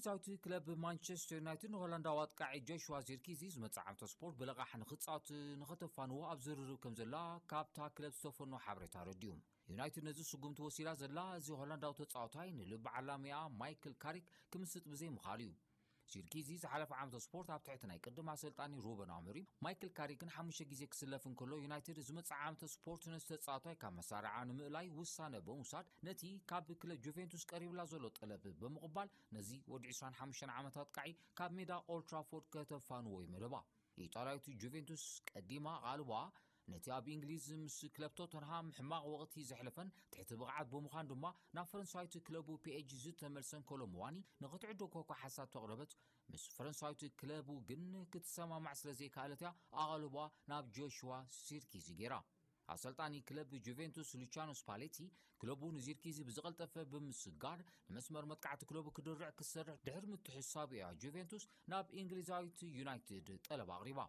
ሳውቲ ክለብ ማንቸስተር ዩናይትድ ንሆላንዳዊ ኣጥቃዒ ጆሽዋ ዚርኪዚ ዝመጽእ ዓመተ ስፖርት ብልቓሕ ንኽጻወት ንኸተፋንዎ ኣብ ዝርርብ ከም ዘላ ካብታ ክለብ ዝተፈኖ ሓበሬታ ረድዩ። ዩናይትድ ነዚ ስጉምቲ ወሲዳ ዘላ እዚ ሆላንዳዊ ተጻዋታይ ንልቢ ዓላሚኣ ማይክል ካሪክ ክምስጥ ብዘይምኻሉ እዩ። ዚርኪዚ ዝሓለፈ ዓመተ ስፖርት ኣብ ትሕቲ ናይ ቅድም ኣሰልጣኒ ሩበን ኣሞሪም ማይክል ካሪክን ሓሙሽተ ግዜ ክስለፍ እንከሎ፣ ዩናይትድ ዝመጽእ ዓመተ ስፖርት ነዚ ተጻዋታይ ካብ መሳርዓ ንምእላይ ውሳነ ብምውሳድ ነቲ ካብ ክለብ ጁቬንቱስ ቀሪብላ ዘሎ ጠለብ ብምቕባል ነዚ ወዲ ዕስራን ሓሙሽተን ዓመት ኣጥቃዒ ካብ ሜዳ ኦልትራፎርድ ከተፋንዎ እዩ መደባ። ኢጣልያዊት ጁቬንቱስ ቀዲማ ኣቓልቦኣ ነቲ ኣብ እንግሊዝ ምስ ክለብ ቶተንሃም ሕማቕ ወቕቲ ዘሕለፈን ትሕቲ ብቕዓት ብምዃን ድማ ናብ ፈረንሳዊት ክለቡ ፒኤጂ ዝተመልሰን ኮሎሙዋኒ ንኽትዕድጎ እኳ ሓሳብ ተቕረበት፣ ምስ ፈረንሳዊት ክለቡ ግን ክትሰማማዕ ስለ ዘይከኣለት እያ ኣቓልቦኣ ናብ ጆሽዋ ሲርኪዚ ገይራ። ኣሰልጣኒ ክለብ ጁቬንቱስ ሉቻኖ ስፓሌቲ ክለቡ ንዚርኪዚ ብዝቐልጠፈ ብምስጋር ንመስመር መጥቃዕቲ ክለቡ ክድርዕ ክሰርሕ ድሕሪ ምትሕሳቡ እያ ጁቬንቱስ ናብ እንግሊዛዊት ዩናይትድ ጠለብ ኣቕሪባ።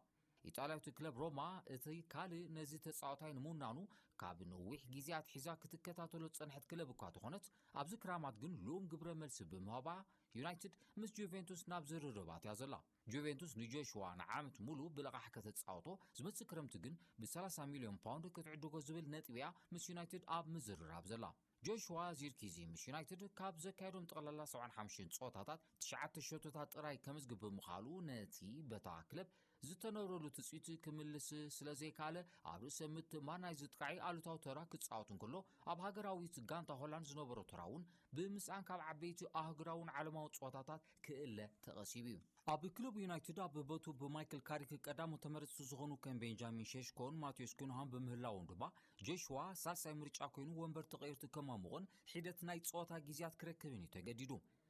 ኢጣልያዊት ክለብ ሮማ እቲ ካልእ ነዚ ተጻዋታይ ንምውናኑ ካብ ነዊሕ ግዜ ኣትሒዛ ክትከታተሎ ዝጸንሐት ክለብ እኳ ተኾነት፣ ኣብዚ ክራማት ግን ልኡም ግብረ መልሲ ብምሃባ ዩናይትድ ምስ ጁቬንቱስ ናብ ዝርርባት እያ ዘላ። ጁቬንቱስ ንጆሽዋ ንዓመት ሙሉ ብልቓሕ ከተጻወቶ፣ ዝመጽእ ክረምቲ ግን ብ30 ሚልዮን ፓውንድ ክትዕድጎ ዝብል ነጥቢ እያ ምስ ዩናይትድ ኣብ ምዝርራብ ዘላ። ጆሽዋ ዚርኪዚ ምስ ዩናይትድ ካብ ዘካየዶም ጠቕላላ ሰብዓን ሓሙሽተን ጸወታታት ትሽዓተ ሸቶታት ጥራይ ከምዝግብ ብምኻሉ ነቲ በታ ክለብ ዝተነብረሉ ትጽቢት ክምልስ ስለ ዘይከኣለ ኣብ ርእሰ ምትእምማን ናይዚ ጥቃዒ ኣሉታዊ ተራ ክጻወት እንከሎ ኣብ ሃገራዊት ጋንታ ሆላንድ ዝነበሮ ተራ እውን ብምስኣን ካብ ዓበይቲ ኣህጉራውን ዓለማዊ ጸወታታት ክእለ ተቐሲቡ እዩ። ኣብ ክለብ ዩናይትድ ኣብ በቱ ብማይክል ካሪክ ቀዳሙ ተመረጽቲ ዝኾኑ ከም ቤንጃሚን ሸሽኮን ማቴዎስ ኩንሃን ብምህላዎም ድማ ጆሽዋ ሳልሳይ ምርጫ ኮይኑ ወንበር ተቐይርቱ ከማሙቕን ሒደት ናይ ጸወታ ግዜያት ክረክብን እዩ ተገዲዱ።